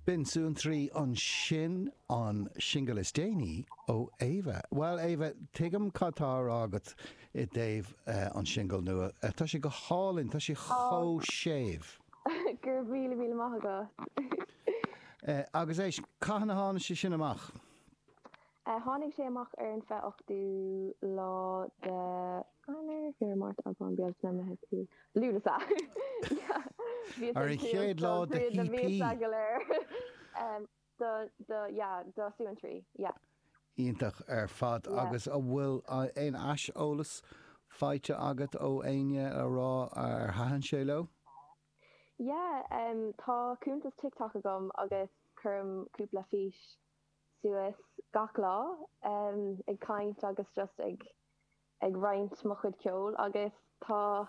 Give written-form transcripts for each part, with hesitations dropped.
B'in Suantraí ansin, an singil is déanaí ó Éabha. Bhuel, Éabha, tuigim cad tá á rá agat i dtaobh an singil nua. Tá sé go hálainn, tá sé chomh séimh. Go raibh míle míle maith agat. Agus éist, cathain a tháinig sé sin amach? Tháinig sé amach ar an 28ú lá de Eanáir, Feabhra, Márta, Aibreán, Bealtaine, Meitheamh, Iúil, Lúnasa. Yeah. Ar an chéad lá de na míosa go léir. Do, do, yeah, do Suantraí, yeah. Iontach ar fad. Agus an bhfuil aon aiseolas faighte agat ó éinne a rá ar thaitin sé leo? Yeah, tá cuntas TikTok agam agus cuirim cúpla fís suas gach lá ag caint agus just ag ag roinnt mo chuid ceoil agus tá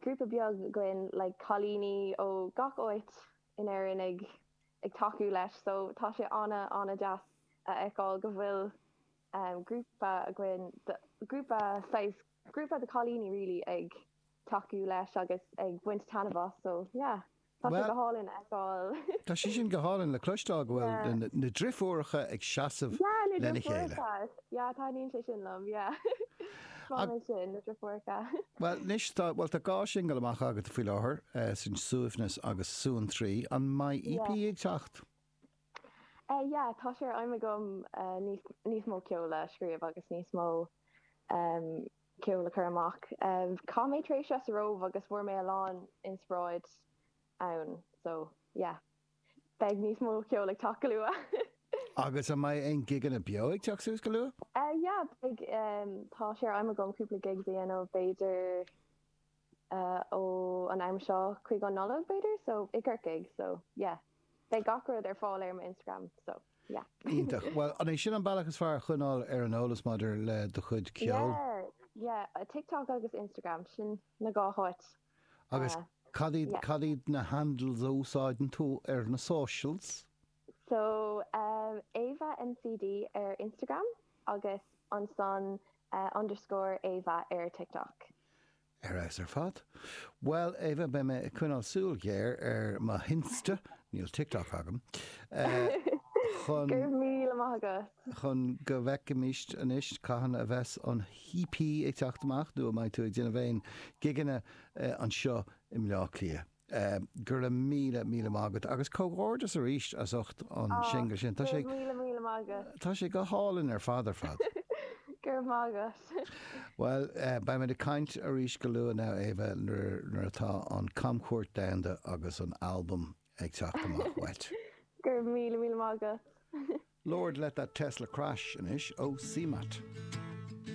grúpa beag againn like cailíní ó gach áit in Éirinn ag ag tacú leis so tá sé ana ana deas a fheiceáil go bhfuil grúpa againn grúpa saghas grúpa de cailíní really ag tacú leis agus ag baint taitneamh as so yeah. Tá sé go hálainn a fheiceáil. Tá sé sin go hálainn le cloisteáil go bhfuil na driofúracha ag seasamh lena chéile. Yeah, taitníonn sé sin liom, yeah. Is maith sin, na driofúracha. Bhuel, anois tá, bhuel tá dhá shingil amach agat faoi láthair, sin Suaimhneas agus Suantraí. An mbeidh EP ag teacht? Yeah, tá sé ar aidhm agam níos mó ceoil a scríobh agus níos mó ceol a chur amach. Chaith mé tréimhse sa Róimh agus fuair mé a lán inspioráid ann so yeah beidh níos mó ceol ag teacht go luath. Agus an mbeidh aon gigeanna beo ag teacht suas go luath? Yeah beidh, tá sé ar aidhm agam cúpla gigs a dhéanamh b'fhéidir ó an am seo chuig an Nollaig b'fhéidir so i gCorcaigh so yeah beidh gach rud ar fáil ar mo Instagram so. Yeah. Iontach. Bhuel, an é sin an bealach is fearr a choinneáil ar an eolas maidir le do chuid ceoil? Yeah, yeah. TikTok agus Instagram, sin na dhá háit. Agus cad iad, cad iad na handles a úsáideann tú ar na socials? So, Ava NCD ar Instagram agus ansan underscore Ava ar TikTok. Ar fheabhas ar fad. Bhuel, Ava, beidh mé ag coinneáil súil ghéar ar mo hInsta, níl TikTok agam, chun. Go raibh míle maith agat. chun go bhfeicfimis anois cathain a bheas an EP ag teacht amach nó an mbeidh tú ag déanamh aon gigeanna anseo i mBleá Cliath. Go raibh míle, míle maith agat agus comhghairdeas arís as ucht an singil sin. Tá sé, Go raibh míle, míle maith agat. Tá sé go hálainn ar fad ar fad. Go raibh maith agat. Bhuel, beidh muid ag caint arís go luath now, Ava, nuair atá an camchuairt domhanda agus an albam ag teacht amach uait. Go raibh míle, míle maith agat. Lord Let That Tesla Crash anois ó CMAT.